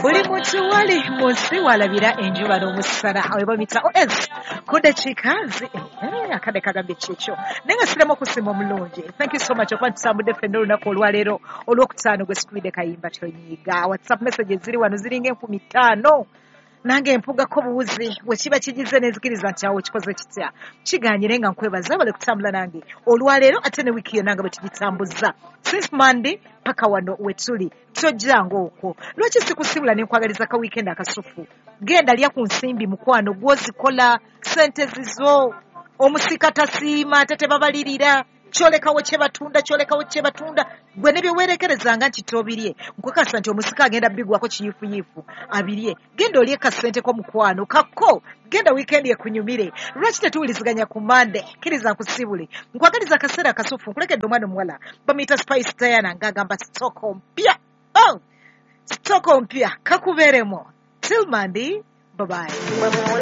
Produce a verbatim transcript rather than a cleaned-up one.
Buli muntu wali mu nsi walabira enjuba n'omusana, we bamuyita os ku dakiika zi eh, akadde kagambye kyekyo, naye nga siremu okusima omulungi. Thank you so much okuba ntutambudde ffenna olunaku olwaleero olwokutaano. Gwe sikubidde kayimba tonyiiga. WhatsApp messages ziri wano ziringa enkumi ttaano, nange mpugako buwuzi bwe kiba kigize nenzikiriza nti awo kikoze kitya kiganyire. Nga nkwebaza bale kutambula nange olwaleero ate ne wiiki yonna nga bwe tugitambuza since Monday paka wano wetuli. Tojjanga okwo, lwaki sikusibula nenkwagaliza ka weekend akasufu? Genda lya ku nsimbi, mukwano gwozikola sente zizo. Omusika tasiima ate tebabalirira, kyolekawo kye batunda, kyolekawo kye batunda. Gwe ne byewerekerezanga nti tobirye, nkukasa nti omusika agenda bigwako kiyiifuyiifu abirye. Genda olye kasente ko, mukwano kakko. Genda weekend ekunyumire. Lwaki tetuwuliziganya ku Mande? Kkiriza nkusibule, nkwagaliza akaseera akasufu. Nkulekedde omwana omuwala bamuyita Spice Diana ng'agamba sitoko mpya. Oh, sitoko mpya kakubeeremo. Till Monday, bye bye.